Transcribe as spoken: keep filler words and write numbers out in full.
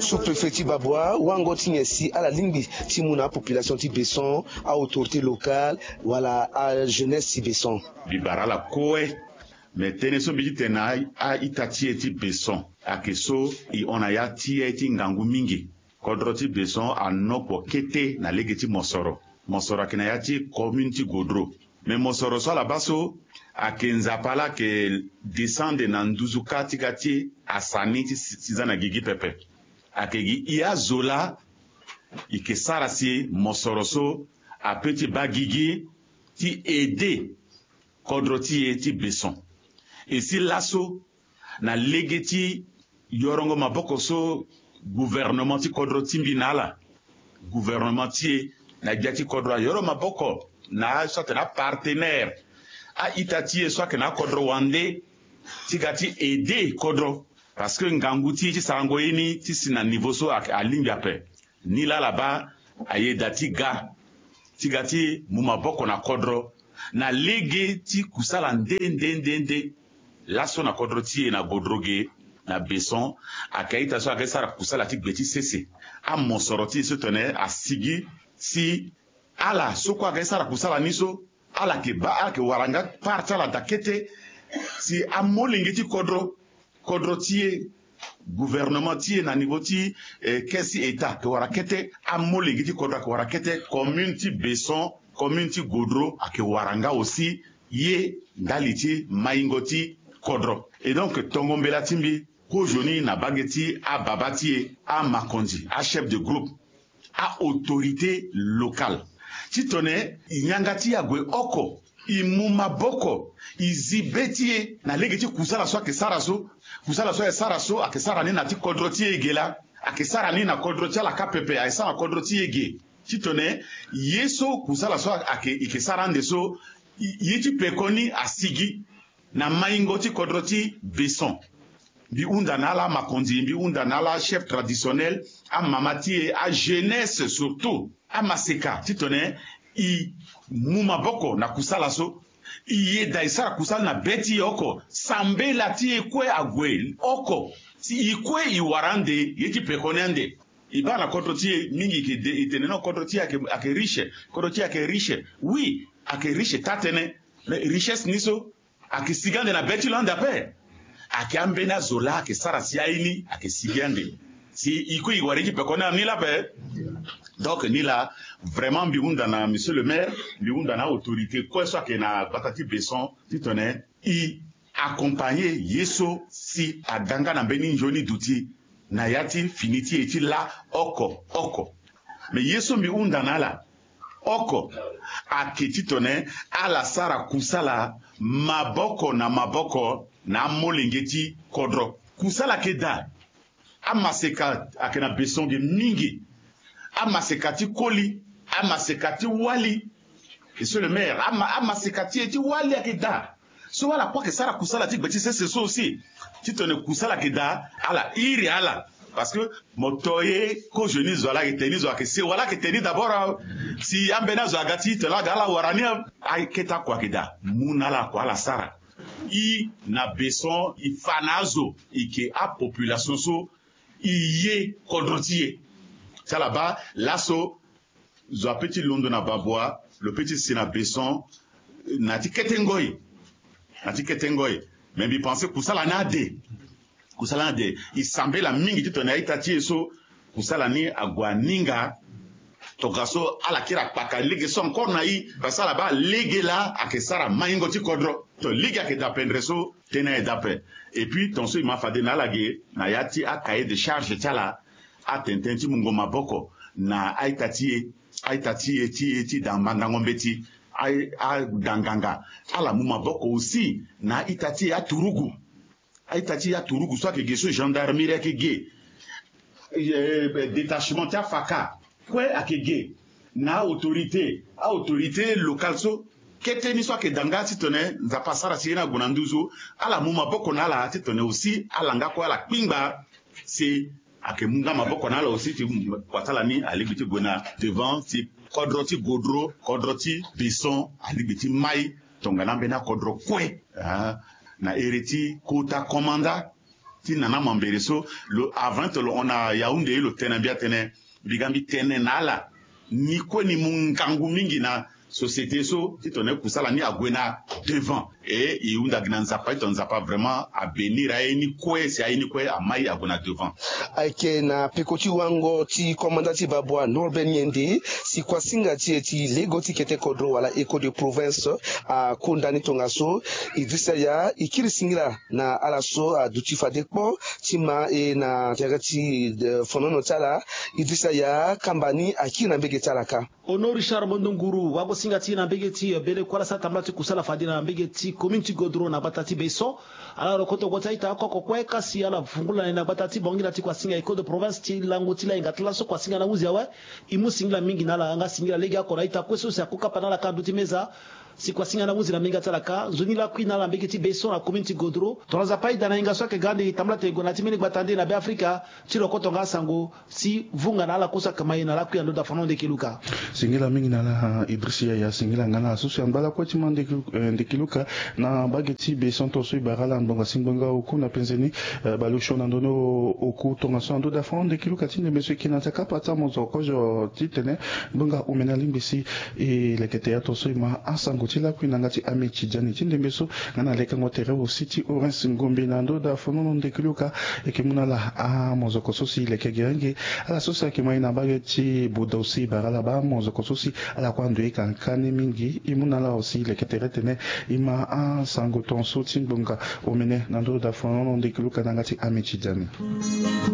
Sous-préfet ti Baboua, wango ti nyen si ala lingbi ti mu na apopulation ti Besson, a-autorité locale, wala ajeunesse ti Besson? Mbi bara ala kue. Me tënë so mbi ti tene na a-ita ti e ti Besson ayeke so e hon na ya ti e ti ngangu mingi. Kodro ti Besson anokpo kete na lege ti mosoro. Mosoro ayeke na ya ti commune ti Godro. Me mosoro so ala baa so ayeke Nzapa laa ayeke descendre na nduzu kâ ti ga ti e, asani ti si, ti za na gigi pepe. Ayeke gi e azo laa e yeke sara si mosoro so apeut ti baa gigi ti aider kodro ti e ti Besson. E si laso, na lege ti yorongo maboko so gouvernement ti kodro ti mbi na ala, gouvernement ti e na gbia ti kodro ayoro maboko na aso atene apartenaire, a-ita ti e so ayeke na akodro wande, ti ga ti aider kodro. Parce que ngangu ti e ti sarango ye ni ti si na niveau so a, alingbi ape. Nilaa ala baa ayeda ti ga, ti ga ti mu maboko na kodro na lege ti kusala nde nde nde nde. Laso na kodro ti e na Godro ge, na Besson, ayeke a-ita so ayeke sara kusala ti gbe ti sese. Amosoro ti e so tene asigi si ala so kue ayeke sara kusala ni so, ala yeke baa, ala yeke wara nga part ti ala daa kete si amolenge ti kodro, kodro ti e, gouvernement ti e na niveau ti, eh, caisse ti État ayeke wara kete, amolenge ti kodro ayeke wara kete, commune ti Besson, commune ti Godro ayeke wara nga aussi ye ndali ti maingo ti kodro. Et donc tongo mbela ti mbi kozoni na mbage ti ababa ti e, amakonzi, achef de groupe, a-autorité locale, titene e yanga ti e ague oko, e mu maboko, e zi be ti e na lege ti kusala so ayeke sara so. Kusala so ayeke sara so ayeke sara ni na ti kodro ti e ge laa, ayeke sara ni na kodro ti ala kâ pepe, ayeke sara na kodro ti e ge. Titene ye so kusala so ayeke, e yeke sara ande so, e, ye ti pekoni asigi na maingo ti kodro ti Besson. Mbi hunda na ala amakonzi, mbi hunda na ala achef traditionnel, amama ti e, ajeunesse surtout, amaseka, titene e mu maboko na kusala so. E yeda e sara kusala na be ti e oko, sambela ti e kue ague oko, si e kue e wara ande, ye ti pekoni ande. E baa na kodro ti e mingi, e ke de, e tene non, kodro ti e ayeke, ayeke riche, kodro ti e ayeke riche. Oui, ayeke riche taa-tënë. Mais richesse ni so ayeke sigi ande na be ti lo ande ape. Ayeke ambeni azo laa ayeke sara si aye ni ayeke sigi ande. Si e kue e wara ye ti pekoni ande ni laa ape. Donc ni laa, vraiment mbi hunda na monsieur le maire, mbi hunda na autorité kue so ayeke na gbata ti Besson, titene e accompagner ye so si aga nga na mbeni nzoni duti na ya ti fini ti e ti laa oko oko. Mais ye so mbi hunda na ala oko ayeke titene ala sara kusala maboko na maboko na amolenge ti kodro. Kusala ayeke daa. Amaseka ayeke na Besson ge mingi. Amaseka ti koli, amaseka ti wali. Monsieur le maire, ama, amaseka ti e ti wali ayeke daa. So ala kue ayeke sara kusala ti gbe ti sese so aussi. Titene kusala ayeke daa, ala iri ala. Parce que mo to ye, kozoni zo, ala yeke tene ni zo, ayeke sewa, ala yeke tene ni d'abord, ah. Si ambeni azo aga ti tene ala ga ala wara ni, ah. Akete oko ayeke daa. Mu na ala oko ala sara. E na Besson, e fa na azo, e yeke apopulation so e ye kodro ti e. Ti ala baa laso zo apeut ti londo na Baboua, lo peut ti si na Besson, na ti kete ngoi. Na ti kete ngoi. Mais mbi pense kusala ni ade. Kusala ni ade. E sambela mingi titene a-ita ti e so kusala ni ague aninga. Tongaso ala kiri akpaka lege so encore na e, parce que ala baa lege laa ayeke sara maingo ti kodro. To lege ayeke daa pendere so, tënë ayeke daa ape. Et puis tongaso e ma fade na ala ge na ya ti acahier de charge ti ala, atene tënë ti mungo maboko na a-ita ti e, a-ita ti e ti e ti da mandango mbeti, a, ada nganga. Ala mu maboko aussi na a-ita ti e aturugu. A-ita ti e aturugu so ayeke ge so, gendarmerie ayeke ge, eh, détachement ti afaka kue ayeke ge, na autorité, autorité locale so. Kete ni so ayeke daa nga titene Nzapa asara si ye ni ague na nduzu, ala mu maboko na ala titene aussi ala nga kue ala kpingba si ayeke mu nga maboko na ala aussi ti kua ti ala ni alingbi ti gue na devant, si kodro ti Godro, kodro ti Besson alingbi ti mai tongana ambeni akodro kue na ere ti kota komanda ti nana mambere so. Lo avant lo hon na Yaoundé, lo tene na mbi atene, mbi ga mbi tene na ala ni kue ni mu ngangu mingi na société so ti tongana e kusala ni ague na devant. E e hunda gi na Nzapa ti tongana Nzapa vraiment abénir aye ni kue, si aye ni kue amai ague na devant. Ayeke na peko ti wango ti komanda ti Babois Norbert Niende, si kuasinga ti e ti lego ti kete kodro wala écho de province akonda ni tongaso. Idrissa Yah, e kiri singila na ala so aduti fade kpo ti ma e na tere ti fonono ti ala. Idrissa Yah, kamba ni akiri na mbege ti ala kâ. Ono Richard Mondonguru, wagosinga ti e na mbege ti bele kue ala sara tambula ti kusala fade na mbege ti commune ti Godro na gbata ti Besson. Ala rokoto gue ti a-ita oko oko kue, kasi ala vungu na e na gbata ti Bangui na ti kuasinga écho de province ti lango ti lahinga ti laso kuasinga na hunzi awe. E mu singila mingi na ala nga singila legeoko na a-ita kue so si akokapa na ala kâ na ndö ti meza. Si kuasinga na hunzi na mbege ti ala kâ, nzoni lakui na ala na mbege ti Besson na commune ti Godro. Tongana Nzapa ayeda na hinga so ayeke ga ande, e tambula tene e gue na ya ti mbeni gbata nde na Beafrika ti rokoto nga asango si vunga na ala kue so akama e na lakui na ndö dafano ndeke luka. Singila mingi na ala Idrissa Yah, singila nga na ala so si angba lakue ti ma ndeke luka na mbage ti Besson, tongaso e bara ala ngbonga si ngbonga oku na penze ni. Baleosio na ndö ni oku tongaso na ndö dafano ndeke luka ti ndembe so e yeke na nzakapa ti amozoko kozo titene ngbonga omene alingbi si e leke tere tongaso e ma asango ti lakui na yanga ti Ahmed Tidjani ti ndembe so. Nga na lekango tere aussi ti Orange Ngombe na ndö dafano ndeke luka. E yeke mu na ala amozoko so si e leke gerenge, ala so si ayeke ma e na mbage ti Boda aussi e bara ala baa amozoko so si ala kue ando e ka nkani mingi. E mu na ala aussi e leke tere tene e ma asango tongaso ti ngbonga omene na ndö dafano ndeke luka na yanga ti Ahmed Tidjani.